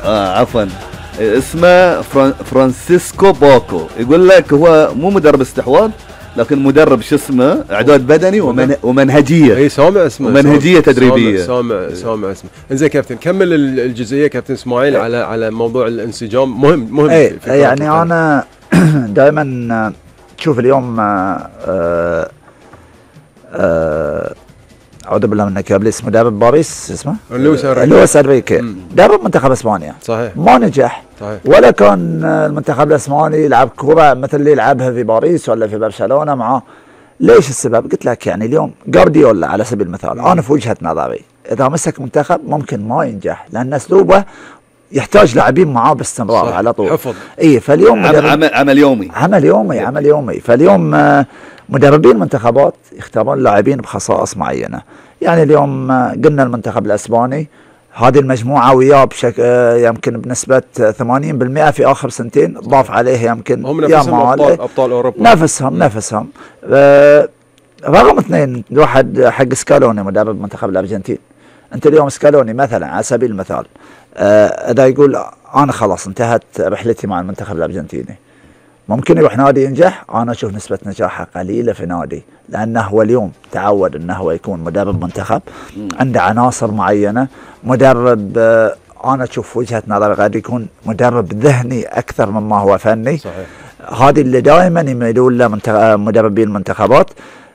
عفوا، اسمه فرانسيسكو باكو. يقول لك هو مو مدرب استحواذ، لكن مدرب شو اسمه اعداد بدني ومنهجيه. اي سامع اسمه، ومنهجيه تدريبيه. سامع اسمه. انزين كابتن، كمل الجزئيه كابتن اسماعيل على موضوع الانسجام. مهم في يعني انا دائما تشوف اليوم اعوذ بالله منك يا ابليس، مدرب باريس اسمه لويس انريكي، مدرب منتخب اسبانيا صحيح ما نجح صحيح. ولا كان المنتخب الاسباني يلعب كره مثل اللي يلعبها في باريس ولا في برشلونه معاه. ليش السبب؟ قلت لك يعني اليوم جارديولا على سبيل المثال، انا في وجهه نظري اذا مسك منتخب ممكن ما ينجح، لان اسلوبه يحتاج لاعبين معاه باستمرار على طول. حفظ. اي فاليوم عمل يومي. فاليوم مدربين منتخبات يختارون لاعبين بخصائص معينه. يعني اليوم قلنا المنتخب الاسباني هذه المجموعه وياه بشكل يمكن بنسبه 80% في اخر سنتين، ضاف عليه يمكن هم نفسهم ابطال اوروبا، نفسهم رقم اثنين واحد حق سكالوني مدرب منتخب الارجنتين. انت اليوم سكالوني مثلا على سبيل المثال اذا يقول انا خلاص انتهت رحلتي مع المنتخب الارجنتيني، ممكن يروح نادي ينجح. انا اشوف نسبه نجاحه قليله في نادي، لانه هو اليوم تعود انه هو يكون مدرب منتخب، عنده عناصر معينه. مدرب انا اشوف وجهه نظري قد يكون مدرب ذهني اكثر مما هو فني. صحيح. هذه اللي دائما يميلون له مدربين المنتخبات،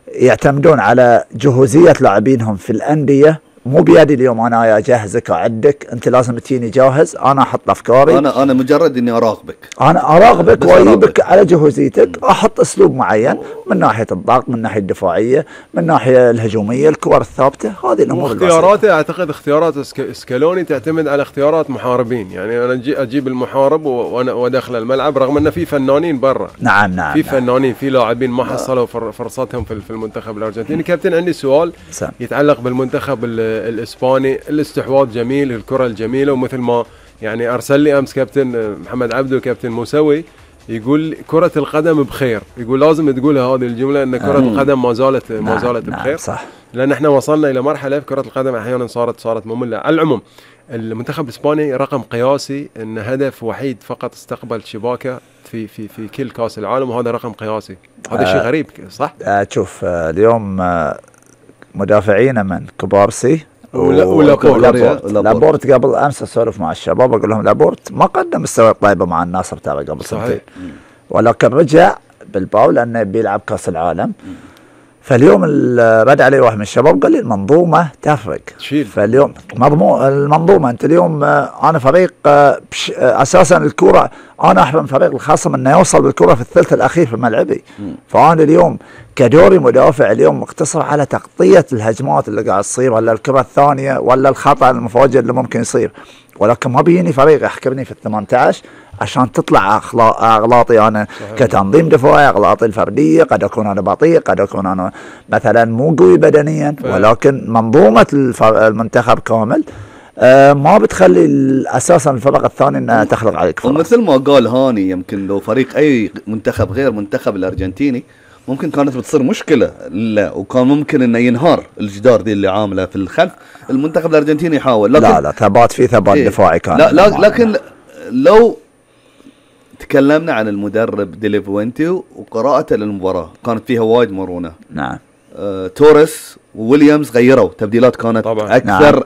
يعتمدون على جهوزيه لاعبينهم في الانديه. مو بيدي اليوم انا اجهزك اعدك، انت لازم تجيني جاهز، انا احط افكاري. انا مجرد اني اراقبك واجيبك على جهوزيتك، احط اسلوب معين من ناحيه الضغط، من ناحيه الدفاعيه، من ناحيه الهجوميه، الكور الثابته، هذه الامور. اختياراته اعتقد اختيارات سكالوني تعتمد على اختيارات محاربين. يعني انا اجيب المحارب وادخل الملعب، رغم ان في فنانين برا. نعم في فنانين، في لاعبين ما حصلوا فرصتهم في المنتخب الارجنتيني. كابتن عندي سؤال يتعلق بالمنتخب الاسباني. الاستحواذ جميل، الكره الجميله، ومثل ما يعني ارسل لي امس كابتن محمد عبده وكابتن موسوي يقول كره القدم بخير. يقول لازم تقولها هذه الجمله، ان كره القدم ما زالت بخير. صح. لان احنا وصلنا الى مرحله في كره القدم احيانا صارت ممله. على العموم المنتخب الاسباني رقم قياسي، ان هدف وحيد فقط استقبل شباكه في كل كاس العالم، وهذا رقم قياسي. هذا شيء غريب صح؟ شوف اليوم مدافعين من كوبارسي لابورت قبل امس اسولف مع الشباب اقول لهم لابورت ما قدم مستوى طيبه مع الناصر ترى قبل سنتين، ولكن رجع بالباو لانه بيلعب كاس العالم. فاليوم رد علي واحد من الشباب قال لي المنظومه تفرق. فاليوم المنظومه انت اليوم انا فريق اساسا الكره انا احرم فريق الخصم انه يوصل بالكره في الثلث الاخير في ملعبي. فانا اليوم كدوري مدافع اليوم مقتصر على تغطيه الهجمات اللي قاعد تصير، ولا الكره الثانيه، ولا الخطا المفاجئ اللي ممكن يصير. ولكن ما بيجيني فريق يحكمني في ال18 عشان تطلع اغلاطي انا كتنظيم دفاعي، اغلاطي الفرديه. قد اكون انا بطيء، قد اكون انا مثلا مو قوي بدنيا، ولكن منظومه المنتخب كامل ما بتخلي اساسا الفرق الثاني انها تخلق عليك فرص. ومثل ما قال هاني، يمكن لو فريق اي منتخب غير منتخب الارجنتيني ممكن كانت بتصير مشكله، لا وكان ممكن انه ينهار الجدار دي اللي عامله في الخلف. المنتخب الارجنتيني يحاول، لكن لا ثبات دفاعي كان. لكن لو تكلمنا عن المدرب ديلي فوينتي وقراءته للمباراه، كانت فيها وايد مرونه. نعم. توريس وويليامز غيروا تبديلات كانت طبعا.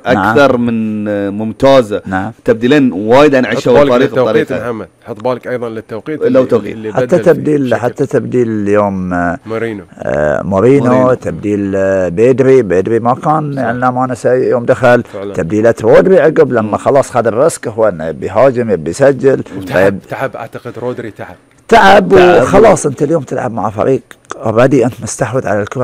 اكثر من ممتازه. تبديلين وايد انعشوا الفريق بطريقه. محمد حط بالك ايضا للتوقيت اللي حتى تبديل اليوم مورينو تبديل بيدري ما كان يعني ما نسى يوم دخل فعلا. تبديله رودري عقب لما خلاص خذ الريسك، هو انه بيهاجم بيسجل. تعب اعتقد رودري تعب وخلاص. انت اليوم تلعب مع فريق اوريدي انت مستحوذ على الكره